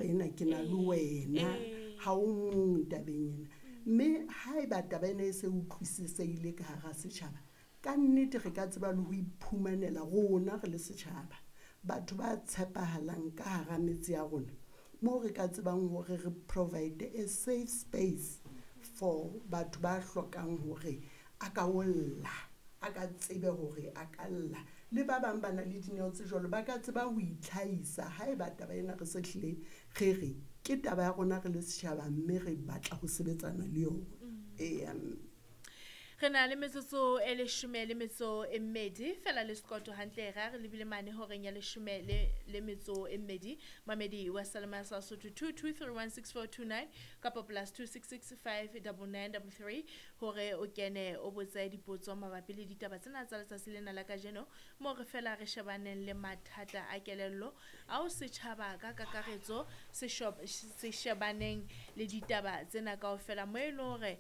ena ke na le wena, ha o mong tabeng ena. Mme haeba taba ena e se utlwisisehile ka hara setjhaba, ka nnete re ka tseba le ho iphumanela rona re le setjhaba batho ba tshepahalang ka hara metse ya rona, moo re ka tsebang hore re provide a safe space for batho ba hlokang hore a ka o lla, a ka tsebe hore a ka lla. Le ba bang ba na le dineo tse jwalo, ba ka tseba ho itlhahisa haeba taba ena re se hlile re re ke taba ya rona re le setjhaba, mme re batla ho sebetsana le yona. Eya mme. Re na le metsotso e leshome le metso e mmedi fela le sekoto hantle ra re lebile mane horeng ya leshome le metso e mmedi. Mamedi wa Salema sa Sotho 22316429 kapa +266 59933 hore o kene o botse dipotso mabapi le ditaba tsena tsa letsatsi lena la kajeno, moo re fela re shebaneng le mathata a kelello ao setjhaba ka kakaretso se shebaneng le ditaba tsena kaofela, mo e leng hore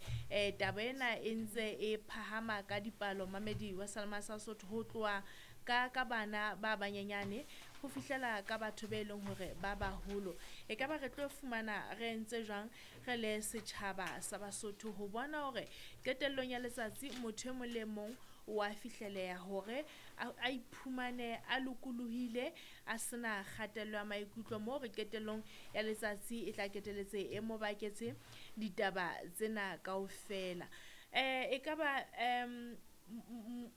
taba ena e ntse e phahama ka dipalo. Mamedi wa Salema sa Sotho, ho tloha ka bana ba banyenyane ho fihlela ka batho be leng hore ba baholo. E ka ba re tlo fumana re entse jwang re le setjhaba sa Basotho ho bona hore qetellong ya letsatsi motho e mong le mong wa fihleleha hore a iphumane a lokolohile, a sena kgatello ya maikutlo, moo re qetellong ya letsatsi e tla keteletse e mo baketse ditaba tsena kaofela. E ka ba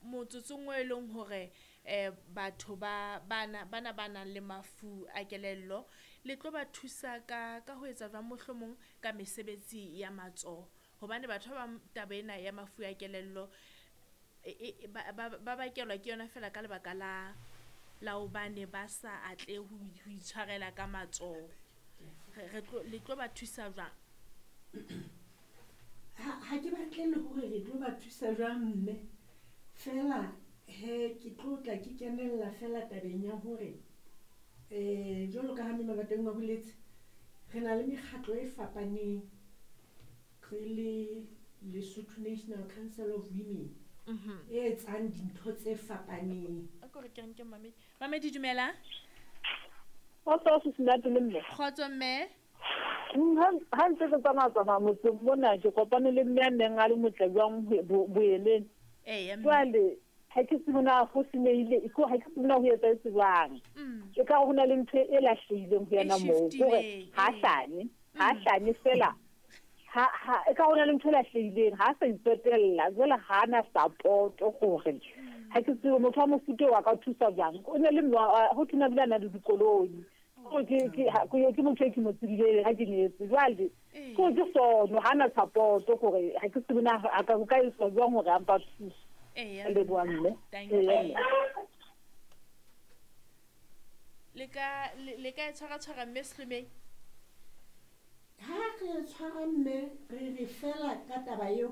motsotsong o e leng hore batho ba bana bana ba nang le mafu a kelello le tlo ba thusa ka ho etsa jwang, mohlomong ka mesebetsi ya matsoho, hobane batho ba bang taba ena ya mafu a kelello ba bakelwa ke yona fela ka lebaka la hobane ba sa atle ho itshwarela ka matsoho. Re tlo le tlo ba thusa jwang? Ha ke batle le hore re tlo ba thusa jwang mme, fela he ke tlo tla ke kenella fela tabeng ya hore jwalo ka ha mme Mabateng a boletse, re na le mekgatlo e fapaneng re le Lesotho National Council of Women e etsang dintho tse fapaneng. A ko re ke nke mamedi. Mamedi, dumela. Kgotso Sesinati le mme. Kgotso mme. Ha ntse ke tsamaya-tsamaya motseng mona, ke kopane le mme a neng a le motle jwang boeleng. Eya mme. Jwale ha ke tsebe na ho senyehile, ha ke tsebe na ho etsahetse jwang. E ka ho na le ntho e lahlehileng ho yena moo, E hore shiftile, ha hlanye, ha hlanye fela. Ha e ka ho na le ntho e lahlehileng, ha sa itsotella, jwale ha na support hore ha ke tsebe motho wa mofuta wa ka thusa jwang. O ne le mme ho thwe bile a na le dikoloi. Ke ke ha ke motho e ke mo tsebileng ha ke nyetse. Jwale ke ke sono, ha na support hore ha ke tsebe na a ka ka etswa jwang hore a mpa thuse. Eya. Leboha mme. Thank Eya, you. mme. Le ka e tshwara-tshwara mme Sehlomeng? Ha re tshwara mme, re re fela ka taba eo,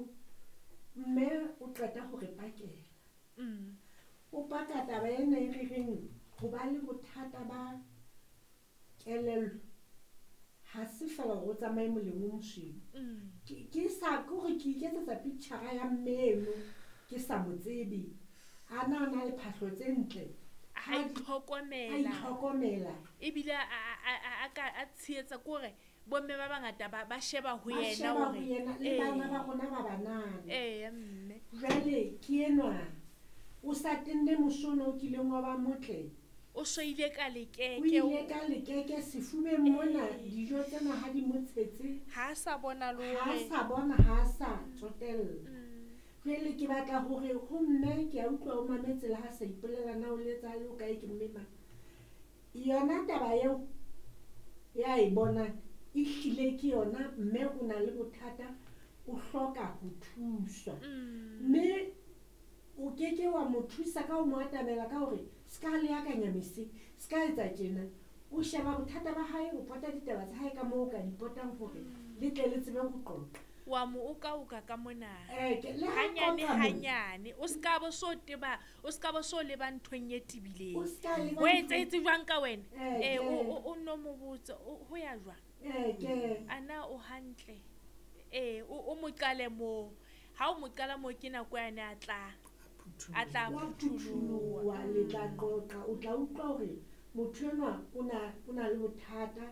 mme o qeta ho re pakela. O paka taba ena e re reng ho ba le bothata ba kelello ha se fela hore o tsamaye moleng o mosweu. Ke sa ke hore ke iketsetsa picture ya mme eno ke sa mo tsebe. A na na le phahlo tse ntle. A itlhokomela. A itlhokomela. Ebile a tshehetsa ke hore bomme ba bangata ba sheba ho Ba yena sheba ho hore yena, le bana ba rona ba banana. Eya, mme. Jwale ke enwa o sa tenne mosono o kileng wa ba motle. O soile ka lekeke. O ile ka lekeke sefubeng mona, dijo tsena ha di mo tshetse. Ha a sa bona le Ha a hore sa bona, ha a sa tsotella. Jwale ke batla hore ho mme, ke a utlwa o mametse le ha sa ipolela na o letsa le o kae ke mme mang. Yona taba eo ya e bonang e hlile ke yona, mme o na le bothata, o hloka ho thuswa. Mme o keke wa mo thusa ka ho mo atamela ka hore se ka le akanya mese, se ka etsa tjena. O sheba bothata ba hae, o pota ditaba tsa hae ka moo o ka di potang hore le tle le tsebe ho qoqa. Wa mo oka-oka ka mona. Ke, le ha Hanyane, qoqa mona. hanyane. O ska bo so teba, o ska bo so leba nthong e tebileng. O ska leba O nthong etsahetse jwang ka wena? Ke. O no mo botse, ho ya jwang? Ke. A na o hantle? O mo qale moo. Ha o mo qala moo ke nako yane a tla. A tla Wa phutholoha. phutholoha, le tla qoqa, o tla utlwa hore motho enwa o na le bothata.